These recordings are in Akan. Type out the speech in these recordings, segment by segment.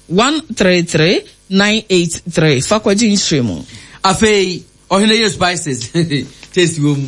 133 983 fa kɔgye nhyerɛmu. Afei ɔhene yere spices taste wom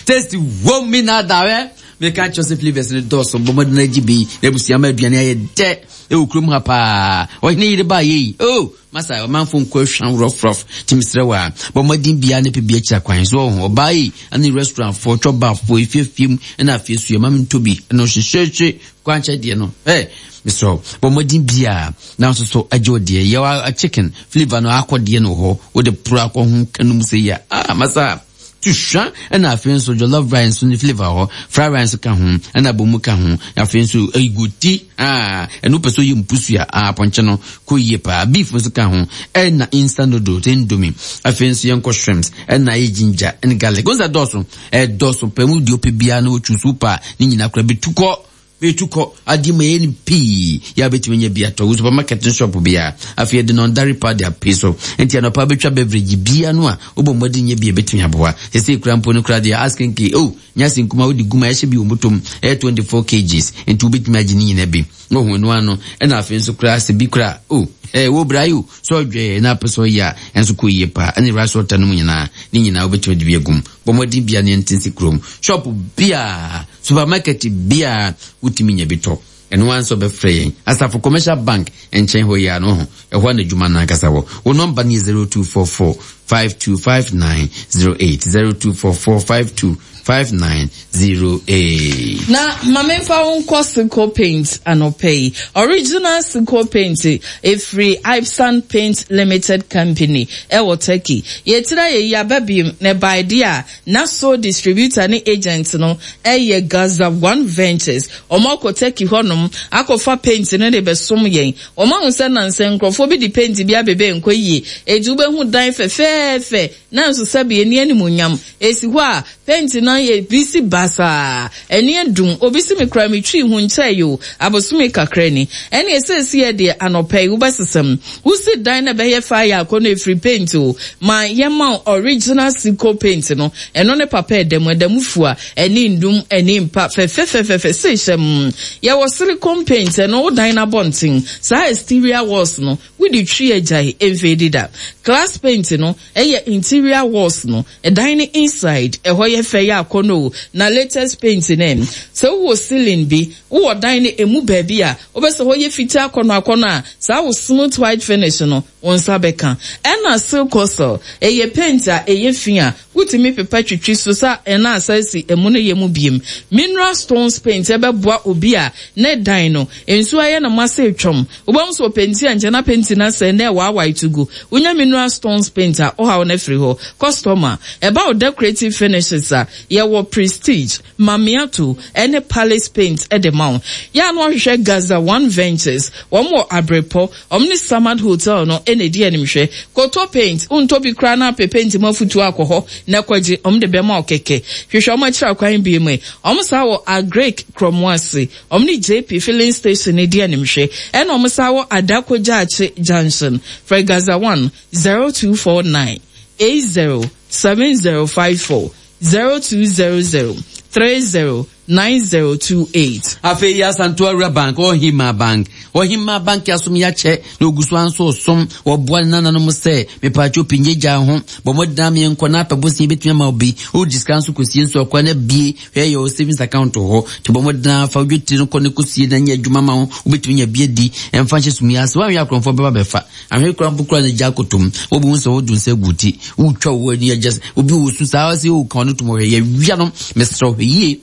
taste wom mi na da hɛ meka kyerɛ sɛ flavors no dɔɔso bɔ mmɔden agye bi na abusua ma aduane ayɛ dɛ ɛwɔ kurom ha paa ɔhene yere baa yei oh masa ɔmanfo nkɔ ahwa rɔfrɔf nti mesrɛ wo a bɔ mmɔden biara ne pɛ bi akyira kwan so ɔho ɔbaa yi ne restaurantfoɔ twɔbafoɔ efiefie mu ɛna afei so yɛma me ntɔ bi ɛna ɔhyehyɛhye kwankyɛ deɛ no ɛ mesrɛ wo bɔ mmɔden biara na nso so agye wo deɛ yɛwɔ chicken flavor no akɔ deɛ no wɔ hɔ wode poro akɔ ho kanum sɛ yɛ ah masa tuhwa ɛna afei nso jollof rice nso ne flavor hɔ fried rice nso ka ho ɛna abomu ka ho afei nso egoti ah ɛno pɛ so yɛ mpusua ah apɔnkye no kɔ yie paa beef nso ka ho ɛna instant noodles indomie afei nso yɛnkɔ shrimps ɛna ayɛ ginger ɛne garlic wɔn sɛ dɔɔso ɛdɔɔso pɛ mu deɛ ɔpɛ biara na wɔtwi so paa ne nyinaa kora bɛtu kɔ bɛtu kɔ adeɛ mu ɛyɛ no pii yɛ a bɛtumi anya bi atɔ wo supermarket ne shop biara afei yɛde nɔndare pa de apee so nti anɔpa bɛtwa beverage biara no a wobɔ mmɔden nyɛ bi a ɛbɛtumi aboa sɛ sɛ kura mpo no kora deɛ askenke oh nyɛ ase nkuma wode guma ɛhyɛ bi wɔ motom ɛyɛ 24 kgs nti wobɛtumi agye ne nyina bi wohu ɛno ano ɛna afei nso koraa sɛ bi koraa oh ɛɛ wo bra yi o sɛ ɔdwɛɛ na apɛ sɛ ɔyɛ a ɛnso kɔ yie paa ɛne rice water no mu nyinaa ne nyinaa wobɛtumi de bi agum bɔ mmɔden bia ne ɛnte kurom shop biaa supermarket biaa wotumi nya bi tɔ ɛno ara nso bɛfrɛ yɛn asafo commercial bank nkyɛn hɔ yi a no ho ɛhɔ a na adwuma no ankasa wɔ wo nɔmba no yɛ 0244 525908 0244 525908. Na ma memfa wo nkɔ Seco Paint anɔpa yi. Original Seco Paint ɛfiri Ipsan Paint Limited Company ɛwɔ Turkey. Yɛtira yɛyi aba biom na ɛbae deɛ a na sole distributor ne agent no ɛyɛ Gaza One Ventures. Wɔn akɔ Turkey hɔnom akɔfa paint no de bɛsom yɛn. Wɔn ahu sɛ nansa nkurɔfoɔ bi de paint bi abebe nkɔ yie. Enti wobɛhu dan fɛfɛɛfɛ nanso sɛbe ɛnni animuonyam. Esi hɔ a, paint no ayɛ bisi basaa. Ani adum. Obi se me koraa metwii ho nkyɛe o, abosome kakra ni. Ɛneɛ seesei deɛ anɔpa yi wobɛsesa mu. Wosi dan na ɛbɛyɛ fɛ ayɛ akɔnnɔ ɛfiri paint o. Ma yɛmma wo original Seco paint no. Ɛno ne papa ɛda mu. Ɛda mu fua. Ani nnum, ani mpa, fɛfɛfɛfɛfɛ sei hyɛmm. Yɛwɔ silicone paint, ɛno wo dan no abɔnten, saa exterior walls no, wode twi agyae, ɛmfeedi da. Glass paint no yɛ interior walls no, ɛdan no inside, ɛhɔ yɛ fɛ yɛ akɔnnɔ o. Na latest paint no ɛ, sɛ wowɔ ceiling bi, wowɔ dan no ɛmu baabi a, wopɛ sɛ hɔ yɛ fitaa akɔnnɔ akɔnnɔ a, saa wo smooth white finish no, wo nsa bɛka. Ɛna silcosol, ɛyɛ paint a ɛyɛ fi a, Wotumi pepa twitwi so sa na asan si emu no yɛ mu biem. Mineral stones paint bɛboa obi a ne dan no, nsuo ayɛ no ma sɛ twam. Wobɛhu sɛ ɔpenti a nkyɛ na penti no asɛe na ɛwaawae to gu. Wonya mineral stones paint a, wo haw no afiri hɔ. Kɔstɔma, ɛba wo decorative finishes a, yɛwɔ Prestige, Mamiato, ne Palace paint de ma wo. Yɛ a na woahwehwɛ Gaza One Ventures, wɔn wɔ Abrepɔ. Wɔn ne Samad Hotel no na edi animhwɛ. Kɔtɔ paint, wontɔ bi koraa na apɛ paint mu afutuo akɔ hɔ na kɔgye, wɔn de bɛma wo kɛkɛ. Hwehwɛ wɔn akyiri akwan bio mu. Wɔn san wɔ Agric Krɔmoase. Wɔn ne JP Filling Station no di animhwɛ. Ɛna wɔn san wɔ Adako Jachie Junction. Frɛ Gaza One, 0249 80 7054, 0200 30 9028. Afei yi Asantewa Rural Bank, Ɔhemmaa Bank. Ɔhemmaa Bank asom yi akyɛ na ogu so ara nso resom. Wɔboa ne nananom sɛ, Mepaakyɛw pii nyɛ gyaa ho. Bɔ mmɔden ara ma yɛnkɔ na apɛ bosea ebetumi ama wo bi. Wogye sika nso kosie nso a, kwan abue. Hwɛ yɛ wo savings account wɔ hɔ. Nti bɔ mmɔden ara fa wo dwetire no kɔ na kosie na nyɛ adwuma ma wo. Wobetumi anya bi adi. Ɛmfa nhyɛ sumii ase. Woanhwɛ a akorɔmfoɔ bɛba abɛfa. Ahwɛ koraa mpo koraa na gya akɔtɔ mu. Wobɛhu sɛ wodu nsa agu wo ti. Wotwa wo ani agya obi wɔ su saa sɛ o ka ɔno tom ɔhwɛ yɛwia no. Mesrɛ wo hwɛ yie.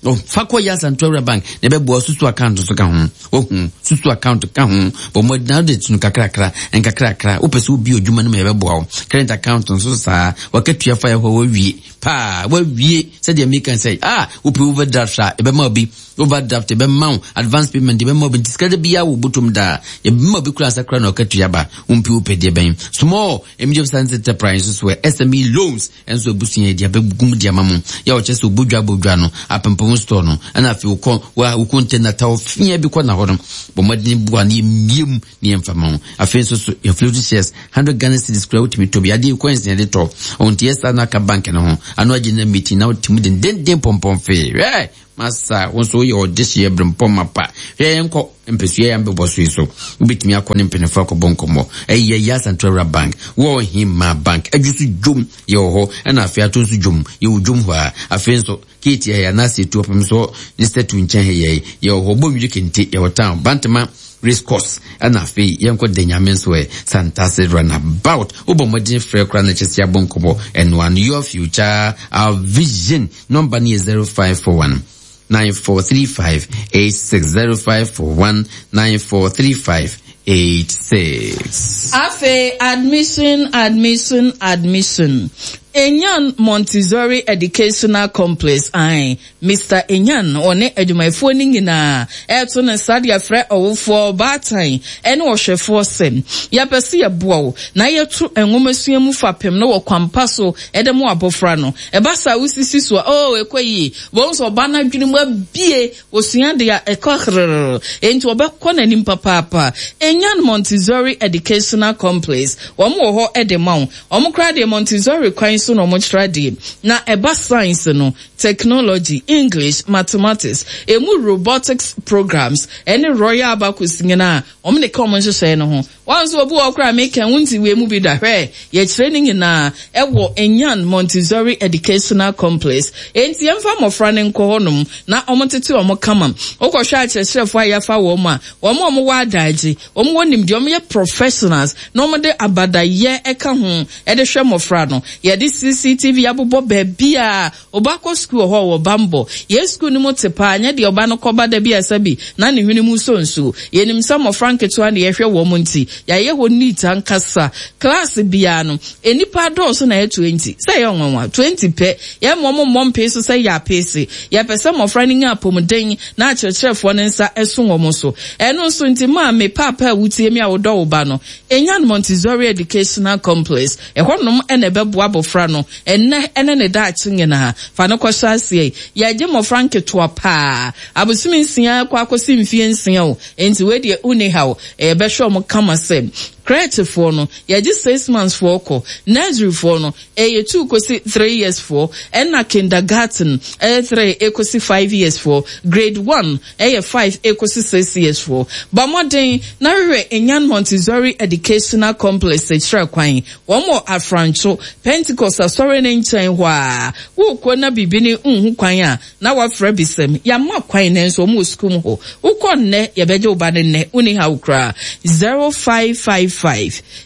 Fa kɔ yɛ Asantewa Rural Bank na ɛbɛboa susu account nso ka ho. Wahu susu account ka ho. Bɔ mmɔden na wode to no kakrakra nkakrakra. Wopɛ sɛ wobie adwuma no mu a yɛbɛboa wo. Current account nso saa. Wakatua fa yɛ hɔ wawie paa wawie sɛdeɛ meka sɛ ah wopɛ overdraft a ɛbɛma obi overdraft ɛbɛma wo advance payment ɛbɛma obi nti sika da biara wɔ bɔtɔm daa yɛbɛma obi kura asa kura na ɔkatua ba wompi wopɛ deɛ bɛn small medium size enterprise nso so SME loans nso abusua yɛ de abɛgum de ama mo yɛ ɔkyɛ sɛ obodwa bodwa no apempem store no ɛna afei wokɔ wa wo container ta ɔfia bi kɔ na hɔ no bɔ mmɔden boa no yɛmmie mu ne yɛmfa ma wo afei nso so yɛ float shares 100 Ghana cedis kura wotumi tɔ bi adeɛ coins na yɛde tɔ ɔnti yɛ saa na aka bank no ho. Ano agye meeting na wote mu dendenden pɔmpɔn fee. Hwɛ, masa, wo nso woyɛ ɔdehyeɛ berempɔn mapa. Hwɛ, yɛnkɔ mpɛsua yɛ mbɛbɔ so yi so. Wobɛtumi akɔ ne mpanimfoɔ akɔbɔ nkɔmmɔ. Ɛyɛ yɛ Asantewa Bank, wɔ Hema Bank, adwo so dwom yɛwɔ hɔ, ɛna afei ato nso dwom, yɛwɔ dwom hɔ a. Afei nso, keeti ɛyɛ anaasɛ etu ɔpem so ne statue nkyɛn ha yɛ yɛwɔ hɔ, Bonwire Kente, yɛwɔ town, Bantama race course, ɛna afei yɛnkɔ da Nyame nso ɛ, Santase runabout. Wobɔ mmɔden frɛ koraa na kyɛ sɛ yɛabɔ nkɔmmɔ. Ɛno ano, your future, our vision. Number no yɛ 0541 9435 86 0541 9435 86. Afei admission, admission, admission. Enyan Montessori Educational Complex, ae, Mister Enyan, ɔne adwumayɛfoɔ no nyinaa ɛreto ne nsa de afrɛ ɔwofoɔ, ɔbaatan, ne ɔhwɛfoɔ sɛ, yɛpɛ sɛ yɛboa wo na yɛto nwomasua mu fapem no wɔ kwampa so de mo abɔfra no. Ɛba saa a, wosisi so a, oh, ɛkɔ yie. Wobɛhu sɛ ɔba no adwene mu abue, osua deɛ a, ɛkɔ herrrr. Enti ɔbɛkɔ n'anim papaapa. Enyan Montessori Educational Complex, wɔn wɔ hɔ de ma wo. Wɔn koraa deɛ Montessori kwan so na wɔkyerɛ adeɛ. Na ɛba science no, technology, English, mathematics, emu robotics programs, ɛne Royal Abacus nyinaa, wɔn de ka wɔn nhyehyɛe no ho. Wɔn nso obi wɔ hɔ koraa a meka wonte wei mu bi da. Hwɛ, yɛkyerɛ ne nyinaa ɛwɔ Enyan Montessori Educational Complex. Enti yɛmfa mmɔfra no nkɔ hɔnom na wɔntete wɔn kama. Wokɔhwɛ akyerɛkyerɛfoɔ a yɛafa wɔn a, wɔn a wɔwɔ adagye, wɔn wɔ nimdeɛ, wɔyɛ professionals na wɔde abadayɛ ka ho de hwɛ mmɔfra no. Yɛde CCTV abobɔ baabiara. Ɔba kɔ sukuu wɔ hɔ a, ɔwɔ bammɔ. Yɛn sukuu no mu te paa, nyɛ deɛ ɔba no kɔba da bi a sɛbi na ne hwene mu sɔ nsuo. Yɛnim sɛ mmɔfra nketewa na yɛhwɛ wɔn nti, yɛayɛ hɔ neat ankasa. Klaase biara no, nnipa adɔɔso na ɛyɛ 20. Sɛ ɛyɛ nwanwa? 20 pɛ. Yɛmma wɔn mmɔ mpee so sɛ yɛ apeese. Yɛpɛ sɛ mmɔfra no nya apɔmuden na akyerɛkyerɛfoɔ no nsa so wɔn so. Ɛno nso nti, maame, paapa a wotie me a wodɔ wo ba no, nya no Montessori Educational Complex. Ɛhɔnom na ɛbɛboa abɔfra no ɛnnɛ ne ne daakye nyinaa. Fa no kɔhyɛ aseɛ. Yɛgye mmɔfra nketewa paa, abosome nsia kɔ akɔsi mfeɛ nsia o, enti wei deɛ wonni haw. Yɛbɛhwɛ wɔn kama sɛ crèche-foɔ no, yɛgye 6 months foɔ kɔ, nursery-foɔ no, ɛyɛ 2 kɔsi 3 years foɔ, ɛna kindergarten ɛyɛ 3 ɛkɔsi 5 years foɔ, grade 1 ɛyɛ 5 ɛkɔsi 6 years foɔ. Bɔ mmɔden na hwehwɛ Enyan Montessori Educational Complex kyerɛ kwan. Wɔn wɔ Afrancho, Pentecost asɔre no nkyɛn hɔ a. Wokɔ na biribi ne nhu kwan a, na wafrɛ bisam. Yɛama kwan nanso wɔn wɔ sukuu mu hɔ. Wokɔ nnɛ, yɛbɛgye wo ba no nnɛ, wonni haw koraa. 0555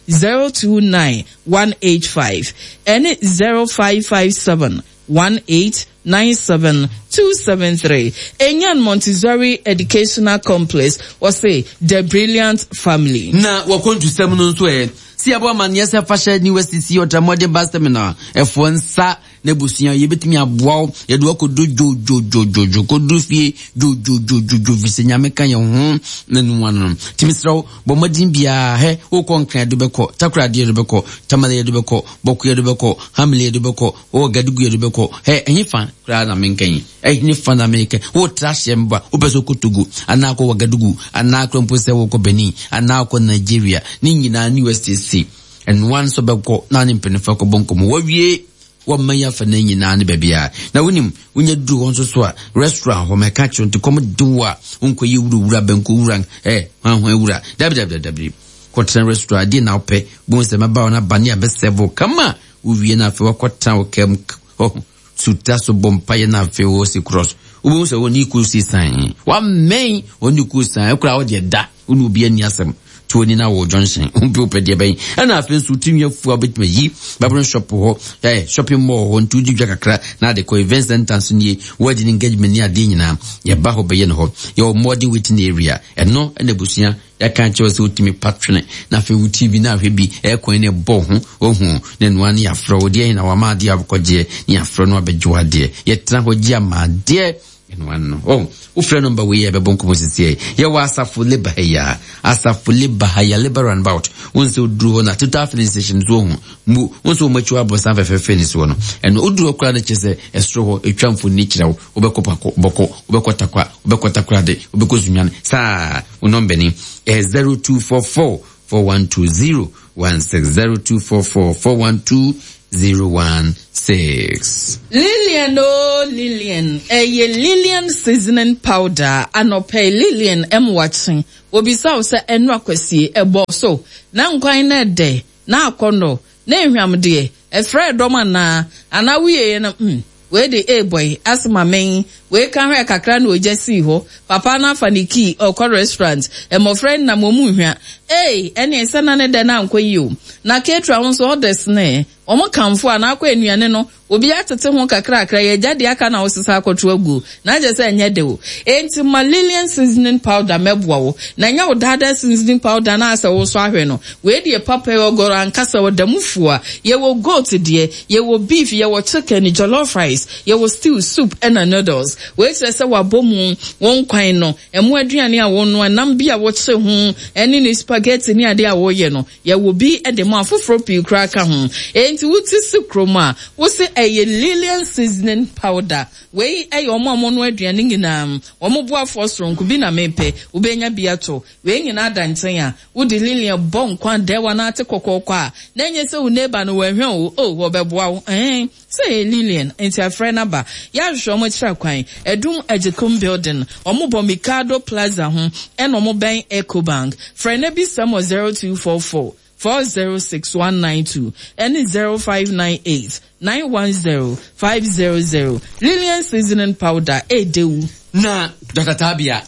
029 185 ɛne 0557 1897 273. Enyan Montessori Educational Complex, wɔse The Brilliant Family. Na wɔkɔntusɛm no nso ɛ si ɛbɔ amanneɛ sɛ fahyɛ ne wasisi ɔtramɔden bus terminal ɛfoɔ nsa na abusua yɛbɛtumi aboa wo, yɛde wakɔdu dwodwodwodwo kɔduru fie dwodwodwodwo fi sɛ Nyame ka yɛn ho na nua no. Nti mesrɛ wo, bɔ mmɔden biara hɛ, wokɔ Nkran yɛde bɛkɔ, Takoradi yɛde bɛkɔ, Tamale yɛde bɛkɔ, Bɔko yɛde bɛkɔ, Hamile yɛde bɛkɔ, wɔ Gadugu yɛde bɛkɔ, hɛ, ɛhe fa koraa na menka yi, ɛhe fa na menka? Wotra hyɛ mba, wopɛ sɛ wokɔ Togo anaa kɔ Wagadugu anaa kora mpo sɛ wokɔ Benin anaa wokɔ Nigeria, ne nyinaa ne USTC ɛnoa nso bɛkɔ na ne mpanimfoɔ akɔbɔ nkɔmmɔ wawie wɔmma yi afa no nyinaa ne baabi a na wonim wonya duru hɔ nso so a, restaurant hɔ mɛka kyerɛ nti kɔm de wo a, wonkɔyɛ wurawura bɛnkɔ wura ɛ hwanhwan wura. Dabi, dabi, dabi, kɔtena restaurant adeɛ na wopɛ bohu sɛ mɛba wo no aba ne abɛsɛvo kama. Wowie no afei wakɔtena wo kam hɔ suta so bɔ mpaeɛ no, afei wɔ si cross, wobɛhu sɛ wɔne ku si san wammɛn wɔne ku san ɛkora wo deɛ da wo ne obi ani asɛm to ani na wɔ junction wompe wopɛ deɛ bɛn. Ɛna afei nso wotumi afu a wobɛtumi ayi babron shop hɔ shopping mall hɔ, nti wodi dwa kakra na ade kɔ event center nso nie, wedding, engagement ne adeɛ nyinaa yɛba hɔ bɛyɛ no hɔ. Yɛwɔ modern waiting area, ɛno ɛna abusua yɛaka kyerɛ sɛ wotumi pa twene na afei wo TV na ahwɛ bi ɛkwan ne ɛbɔ ho ohu na ɛnoa ne yɛafrɛ wo deɛ na wama adeɛ akɔgyeɛ ne yɛafrɛ no abɛgye wo adeɛ. Yɛtena hɔ gye ama adeɛ ɛnoa no. Oh, wofrɛ number wei yɛ bɛbɔ nkɔmmɔ sisiɛ. Yɛwɔ Asafo Labour ha yi a, Asafo Labour ha yi a, Labour roundabout. Wo nsɛ woduru hɔ na Total filling station so ohu mu, wo nsɛ wɔn akyi hɔ abɔsan fɛfɛɛfɛ ne soɔ no, ɛno woduru hɔ koraa no kyerɛ sɛ ɛsoro hɔ ɛtwa mfoni kyerɛ wo. Wobɛkɔ Pako Bɔkɔ, wobɛkɔ Takwa, wobɛkɔ Takorade, wobɛkɔ Sunyani saa. Wo number ni ɛyɛ 0244 4120 16, 0244 412. 016. Lillian oo Lillian, ɛyɛ Lillian seasoning powder, anɔpa yi Lillian mmoakye, wɔbisa wo sɛ ɛno akwasie, ɛbɔ so, na nkwan no ɛdɛ, na akɔnnɔ, na ehwam deɛ, ɛfrɛɛ dɔm anaa, anaa wieɛ no hmm. Wei de ee bɔe ase ma men Wei ka hwɛɛ kakra na ogya sii hɔ Papa no afa ne key ɔrekɔ restaurant Mmɔfra yi nam wɔn nhwa Ei ɛneɛ sɛ na ne dɛ no ankɔ yie o Na caterer wo nso orders no ɛ Wɔn kamfo a na akɔ nnuane no Obi atete ho kakrakra Yɛagya deɛ aka na wosesa akɔto aguo Na kyerɛ sɛ ɛnyɛ dɛ o Enti ma Lillian seasoning powder mmɛboa wo Na ɛnyɛ wo daadaa seasoning powder no a sɛ wosɔ ahwɛ no Wei deɛ papa yi ɔgɔrɔ ankasa ɔda mu fua Yɛwɔ goat deɛ Yɛwɔ beef, yɛwɔ chicken, jollof rice, yɛwɔ stew, soup ɛna noodles. Wei kyerɛ sɛ wabɔ mu, wo nkwan no, ɛmo aduane a wonoa, nam bi a wokye ho, ɛne ne spaghetti ne adeɛ a woyɛ no, yɛwɔ bi de ma afoforɔ pii koraa ka ho. Enti wote si kurom a, wose ɛyɛ Lilian seasoning powder. Wei yɛ wɔn a wɔnoa aduane nyinaa, wɔn boafoɔ soronko bi na mepɛ. Wobɛnya bi atɔ. Wei nyinaa da nkyɛn a, wode Lilian bɔ nkwa dɛw anaa ate kɔkɔɔkɔ a, na ɛnyɛ sɛ wo neighbor no wanhwɛ wo o, oh, wɔbɛboa wo, ɛɛn, sɛ ɛyɛ Lilian, nti afrɛ no aba. Yɛahwehwɛ wɔn akyiri akwan, Adum Agyekum Building, wɔn bɔ Mikado Plaza ho, ɛna wɔn bɛn Ecobank. Frɛ na bisa mu wɔ 0244 406 192 ɛne 0598 910 500. Lilian Seasoning Powder, ɛɛdɛ wu. Na Dɔkta Tabia,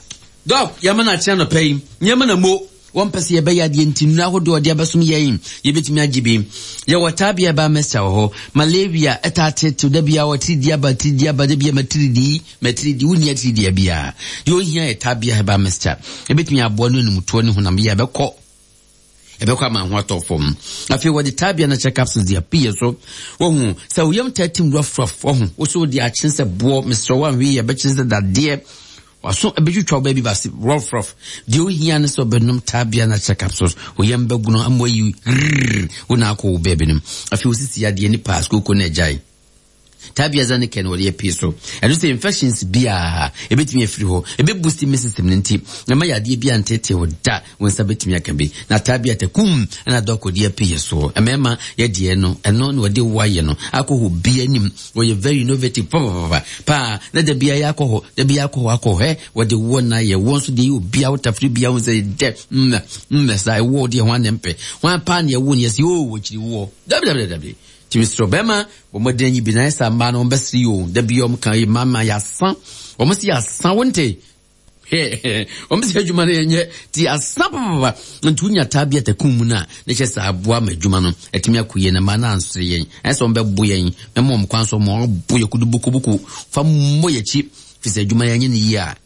Dɔk, yɛama no akye anɔpa yi, nneɛma na mo wɔmpɛ sɛ yɛbɛyɛ adeɛ nti nnuro ahodoɔ ɔde abɛsom yɛn yɛbɛtumi agye bi. Yɛwɔ tabia ɛbaa mɛsta wɔ hɔ. Malaria ɛtaa tetew da biara wɔ tiridi aba tiridi aba da biara matiridi matiridi wonni atiridia biara. Deɛ ohia yɛ tabia herbal mixture. Ɛbɛtumi aboa no animtoɔ ne honam yɛ ɛbɛkɔ ɛbɛkɔ ama ho atɔ fam. Afei wɔde tabia no kyɛ capsules de apiyɛ so. Wɔhu sɛ wo yam taa tim rough rough wɔho wo so wode akyen sɛ boɔ mesrɛ wo anhwɛ yi ɛbɛkyen sɛ dadeɛ. W'aso bɛtwitwa wo baabi base rough rough. Deɛ ohia ne sɛ ɔbɛnom tabia na kyɛ capsules. Wo yam bɛgono ama wayi grrrr wo na akɔ wo baabi nom. Afei wo sisi yadeɛ ne paas kooko na agyae. Tabia Zanicare na wɔde yɛ pii so. Ɛno sɛ infections biara ɛbɛtumi afiri hɔ. Ɛbɛ boost immune system no nti ɛma yadeɛ biara nteetee wo da. Wo nsa bɛtumi aka bi. Na tabia takum ɛna dɔkɔ de apii yɛ soɔ. Mmarima yɛdeɛ no ɛno na wɔde wo ayɛ no akɔ hɔ bi anim. Wɔyɛ very innovative papapapa paa na da biara yɛakɔ hɔ da biara akɔ hɔ akɔ hɔ hɛ wɔde wɔ na yɛ wɔ nso deɛ yɛ obia wotafere bia ho sɛ dɛ mmɛ mmɛ saa ɛwɔ deɛ ho anɛ mpɛ ho paa ne ɛwo ne yɛsɛ oo wɔkyiri woɔ dabi dabi dabi tumi srɛ bɛrima bɔ mmɔden anyi bi na ayɛ sɛ mmaa no wɔn bɛsere yi o da bi wɔn ka yi mmaa mmaa yɛasa wɔn si yɛasa wo nte. Wɔn sɛ adwuma no yɛnyɛ ti asa papapa nti wonya taa bi atakum mu no a ne kyɛ sɛ aboa ma adwuma no atumi akɔ yie na mmaa no ansere yɛn ɛsɛ wɔn bɛbo yɛn mɛma wɔn kwan so wɔn abo yɛ kudu bukubuku fa mmɔ yɛn akyi fi sɛ adwuma yɛnyɛ no yie a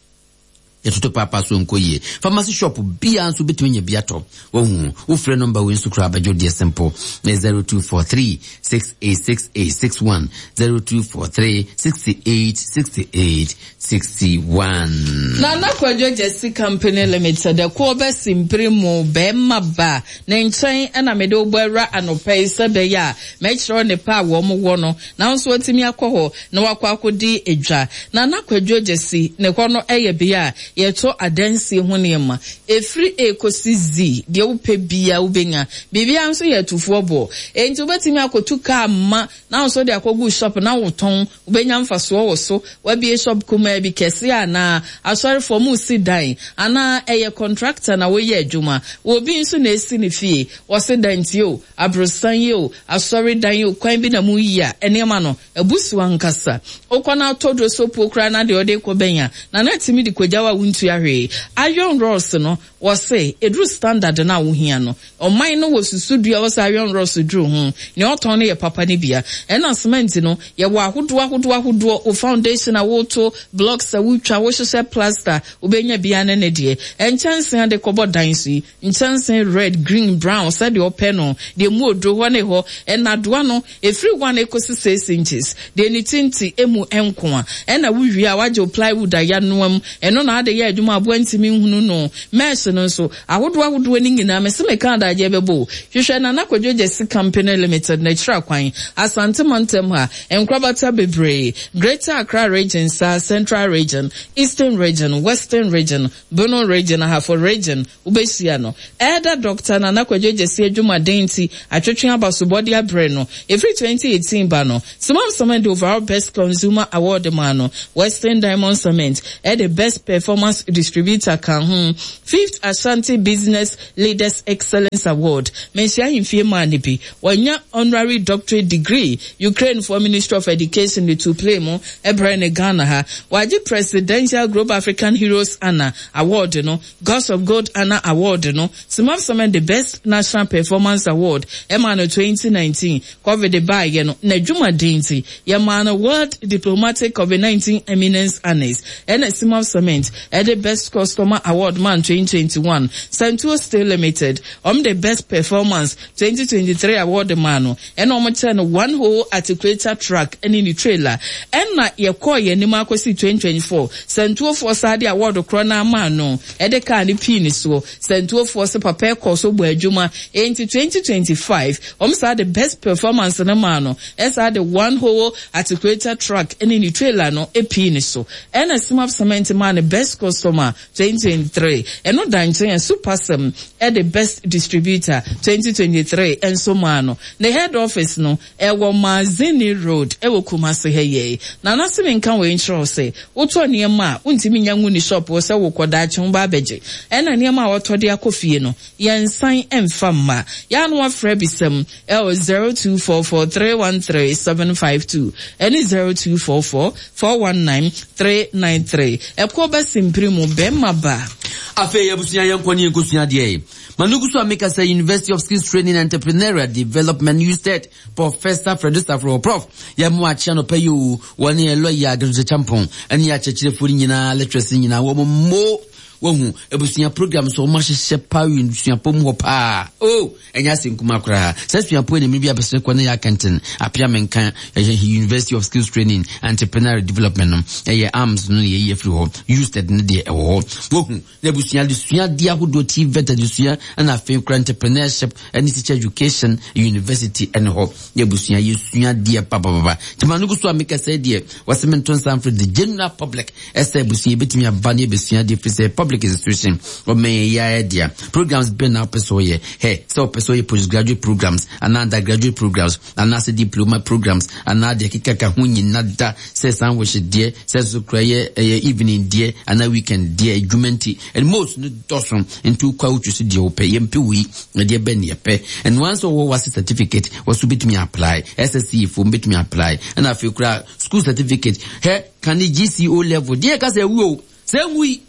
yɛtoto paapa so nkɔ yie pharmacy shop biara nso bɛtumi nya bi atɔ wahu wofrɛ nɔmba wei nso koraa bɛgye deɛ simple 0243 686861 0243 68 68 61. Nana Kwadwo Gyasi Company Limited, Ɛkoɔ bɛsi mpire mu bɛɛma ba ne nkyɛn na mede wo bɔ awura anɔpa yi sɛ ɛbɛyɛ a mɛkyerɛ wo nnepa a wɔn wɔ no na wo nso watumi akɔ hɔ na wakɔ akɔdi dwa. Nana Kwadwo Gyasi ne hɔ no yɛ bea a yɛtɔ adansie ho nneɛma ɛfiri A kɔsi Z, deɛ wopɛ biara wobɛnya. Biribiara nso yɛ atufoɔ boɔ, enti wobɛtumi akɔtu kaa ma na wo nso wode akɔgu shop na wotɔn. Wobɛnya mfasoɔ wɔ so? Woabue shop kumaa bi, kɛseɛ anaa? Asɔrefoɔ, moresi dan anaa ɛyɛ contractor na woyɛ adwuma? Obi nso na ɛresi ne fie, wɔse dantie o, aborosan yi o, asɔredan o, kwan bi na moreyi a, nneɛma no, abu so ankasa. Wokɔ na wotɔ duro koraa na deɛ wode rekɔ bɛn a, Nana tumi de kɔgya wo a wontua hwee. Iron rods no, Wɔse ɛduru standard no a wohia no, ɔman no wɔ susudua a wɔsɛ iron rods duru ho, nea ɔtɔn no yɛ papa no bia. Ɛna cement no, yɛwɔ ahodoɔ ahodoɔ ahodoɔ, wo foundation a woto, blocks a wotwa, wohyehyɛ plaster, wobɛnya bia ne ne deɛ. Nkyɛnsee a de kɔbɔ dan so yi, nkyɛnsee red, green, brown, sɛdeɛ wopɛ no, deɛ mu oduro hɔ ne hɔ, nnadoa no, Ɛfiri one kɔsi six inches, deɛ ne ti nte ɛmu nko a, ɛna wo wie a wagye wo plywood a yanoa mu, ɛno na ade yɛ adwuma aboa ntumi nhunu no. Mesh no nso, ahodoɔ ahodoɔ no nyinaa, mese meka adagyeɛ bɛbɔ o. Hwehwɛ Nana Kwadwo Gyasi Company Limited n'akyiri akwan, Asante mantam ha, nkorabata bebree, Greater Accra Region saa, Central Region, Eastern Region, Western Region, Bono Region, Ahafo Region, Wobɛhyia no. Elder Dɔkta Nana Kwadwo Gyasi adwumaden nti atwetwe abasobɔde abrɛ no. Ɛfiri 2018 ba no, Simam Cement de Overall Best Consumer Award maa no. Western Diamond Cement de Best Performance Distributor kaa ho. Fifth Ashanti Business Leaders Excellence Award, Manhyia Ahemfie maa no bi. Wanya Honorary Doctorate Degree, Ukrainefoɔ Ministry of Education de too plane mu brɛɛ no Ghana ha. Wagye Presidential Global African Heroes Honour Award no. Gods of Gold Honour Award no, Simap Summit de Best National Performance Award maa no 2019. Covid baeɛ no, n'adwumaden nti, yɛmaa no World Diplomatic Covid-19 Eminence Honours, ɛna Simap Cement de Best Customer Award maa no 2021. Santuo Steel Limited, wɔn de Best Performance 2023 award maa no, ɛna wɔn kyɛɛ no one whole articulator truck ne ne trailer. Ɛna yɛkɔɔ yɛn anim ara kɔsii 2024, Santuofoɔ saa de award korɔ no ara maa no, ɛde kaa no pii ne soɔ. Santuofoɔ se papa ɛkɔɔ so bɔɔ adwuma, enti 2025, wɔn saa de best performance no maa no, ɛsaa de one whole articulator truck ne ne trailer no pii ne so. Ɛna Simap Cement maa no best customer 2023, ɛno da nkyɛn a Supasem de Best Distributor 2023 nso maa no. Ne head office no, ɛwɔ Mazzini Road wɔ Kumasi ha yi ara. Nana se menka wei nkyerɛ wo sɛ, wotɔ nneɛma a, wontumi nnya ngu ne shop hɔ sɛ wokɔ daakye woba abɛgye. Ɛna nneɛma a watɔ de akɔ fie no, yɛnsan mfa mma. Yɛ a na wafrɛ abisa mu ɛwɔ 0244 313 752 ɛne 0244 419 393. Ɛkoɔ ba simpiri mu, bɛɛma ba. Afei abusua yɛnkɔ ne yɛnkɔsua adeɛ. Ma no gu so a meka sɛ University of Skills Training and Entrepreneurial Development USTED Professor Frederick Safro Prof yɛ mo akyea nɔpa yi o wɔne yɛ lɔya Gertrude Champon ɛne yɛ akyerɛkyerɛfoɔ no nyinaa lecturers no nyinaa wɔn mo wahu abusua program so wɔn ahyehyɛ paa wɔ suapɔn mu hɔ paa o ɛnyɛ ase nkuma koraa sɛ suapɔn na mmiri bi abɛsene kɔ ne yɛ akɛntɛn apia menka ɛyɛ University of Skills Training and Entrepreneurial Development no ɛyɛ arms no yɛ yi afiri hɔ USTED no deɛ ɛwɔ hɔ wahu na abusua adesua adeɛ ahodoɔ TVET adesua ɛna afei kora entrepreneurship ɛne teacher education university ɛne hɔ na abusua yɛsua adeɛ papapapa nti ma no gu so a meka sɛ deɛ wɔsɛ mento nsa mfrɛ the general public ɛsɛ abusua yɛbɛtumi aba ne yɛbɛsua adeɛ firi sɛ public institution ɔmɛn yɛ ayɛ dea programs bɛn na wopɛ sɛ ɔyɛ hɛ sɛ wopɛ sɛ ɔyɛ postgraduate programs anaa undergraduate programs anaasɛ diploma programs anaa deɛ kekaka ho nyina da sɛ sandwich deɛ sɛ nso kora yɛ ɛyɛ evening deɛ anaa weekend deɛ adwuma nti and most no dɔso nti wokɔ a wotwi so deɛ wopɛ yɛmpɛ wei ɛdeɛ bɛn ne yɛpɛ ɛnoa nso wɔwɔ wase certificate wɔso bɛtumi apply SSC foɔ bɛtumi apply ɛna afei kora school certificate hɛ kane GCO level deɛ ɛka sɛ ɛwu o sɛ ɛnwui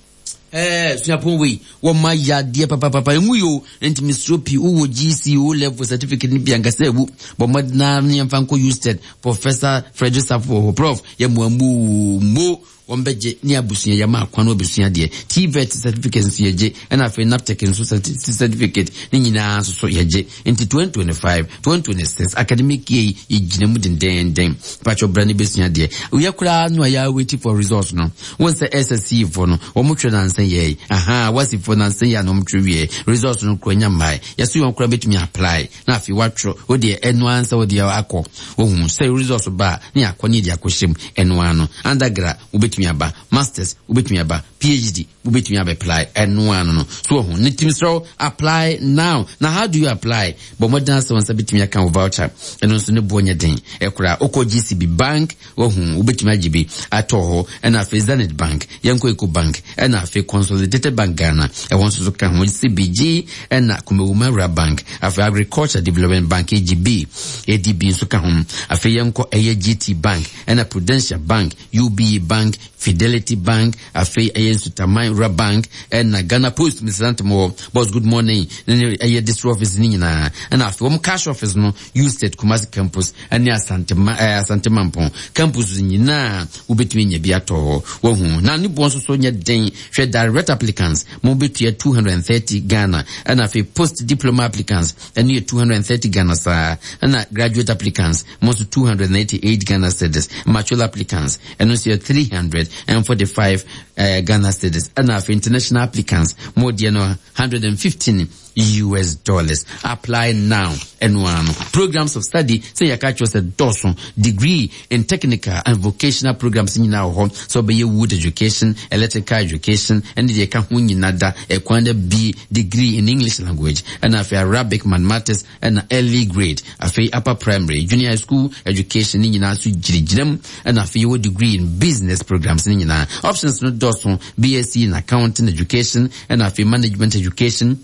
ɛɛ suapɔn wei wɔma yadeɛ papapapa ɛnwu yi o nti mesuro pii wowɔ GCO level certificate no bi ankasa ɛwu bɔ mmɔdenaa ne yɛmfa nkɔ USTED Professor Frederick Safo wɔ hɔ prof yɛ mmoa mu mo wɔn bɛgye ne abusua yɛma akwan no abusua deɛ TVET certificate nso yɛgye ɛna afei NAPTEC nso certificate ne nyinaa nso so yɛgye nti 2025 2026 academic year yi yɛgyina mu dendenden patwɔ bra ne bɛsua deɛ woyɛ koraa no a yɛ waiting for results no wɔn sɛ SSC foɔ no wɔn twɛ nansa yɛ aha wasi foɔ nansa yɛ a na wɔn twɛ wie results no kura nya mmae yɛso wɔn koraa bɛtumi apply na afei watwerɛ wo deɛ ɛno ara sɛ wo deɛ akɔ wohu sɛ results ba a ne akɔ ne yɛde akɔhyɛ mu ɛno ara no undergrad wobɛtumi aba masters wobɛtumi aba PhD wobɛtumi abɛply ɛno ara no no so wahu ne tim srɛ apply now na how do you apply bɔ mmɔden asɛ wɔn nsa bɛtumi aka wo voucher ɛno nso ne boɔ nyɛ den ɛkora wokɔ GCB bank wahu wobɛtumi agye bi atɔ hɔ ɛna afei Zenith Bank yɛnkɔ Eco Bank ɛna afei Consolidated Bank Ghana ɛhɔ nso so ka ho CBG ɛna Kumawuma Rural Bank afei Agriculture Development Bank AGB ADB nso ka ho afei yɛnkɔ ɛyɛ GT Bank ɛna Prudential Bank UBA Bank Fidelity Bank afei ɛyɛ Nsutaman Rural Bank ɛna Ghana Post Mr. Ntomo boss good morning ne ɛyɛ district office ne nyinaa ɛna afei wɔn cash office no USTED Kumasi campus ɛne Asante ma ɛɛ Asante Mampɔn campus nyinaa wobɛtumi anya bi atɔ hɔ wahu na ne boɔ nso so nyɛ den hwɛ direct applicants mo bɛtua 230 Ghana ɛna afei post diploma applicants ɛno yɛ 230 Ghana saa ɛna graduate applicants mo nso 288 Ghana cedis mature applicants ɛno nso yɛ 345 eh, Ghana cedis. Ɛna afei international applicants mo deɛ no 115 US dollars. Apply now. Ɛno ara no. Programs of study sɛ yɛka kyerɛ sɛ dɔɔso. Degree in technical and vocational programs nyinaa wɔ hɔ. Sɛ ɔbɛyɛ wood education, electrical education, ɛne deɛ ɛka ho nyinaa da ɛkwan da bi degree in English language. Ɛna afei Arabic, mathematics, ɛna early grade. Afei upper primary, junior high school education ne nyinaa nso gyinagyina mu. Ɛna afei yɛwɔ degree in business programs ne nyinaa. Options no dɔɔso. BSc in accounting education, ɛna afei management education,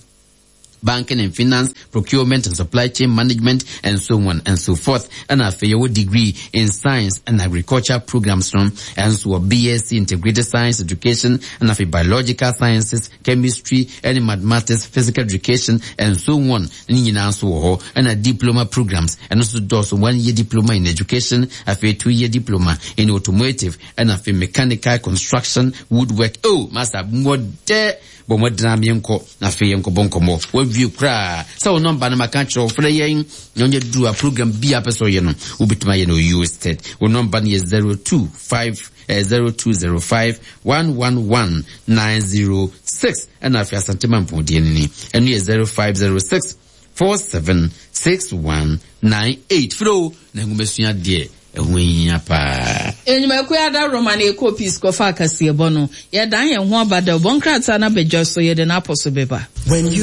banking and finance, procurement and supply chain management, and so on and so forth. And afei yɛwɔ degree in science and agriculture programs no, ɛnso wɔ BSc integrated science education, and afei biological sciences, chemistry, ɛne mathematics, physical education, and so on. Ne nyinaa nso wɔ hɔ. Ɛna diploma programs, ɛno nso dɔɔso, one year diploma in education, afei 2 year diploma in automotive, ɛna afei mechanical construction, woodwork. Oh, masa, mmɔ dɛ bɔ mmɔdena meɛnkɔ na afei yɛnkɔbɔ nkɔmmɔ. Wawie koraa sɛ wo nɔmba no maka kyerɛ wo, frɛ yɛn na ɔnyɛ duru a program bi a pɛ sɛ ɔyɛ no wobɛtumi ayɛ no ɔyɛ state. Wo nɔmba no yɛ 025 0205 111 906 ɛna afei Asante Mampɔn deɛ no ni, ɛno yɛ 0506 476198. Frɛ o na nwomasua deɛ ɛho hia paa. Enyimako ada Roma na ɛkɔ peace kɔfa akaseɛbɔ no. Yɛdan yɛn ho aba dɛ ɔbɔ nkrataa no abadwa so yɛde n'apɔ so bɛba. When you.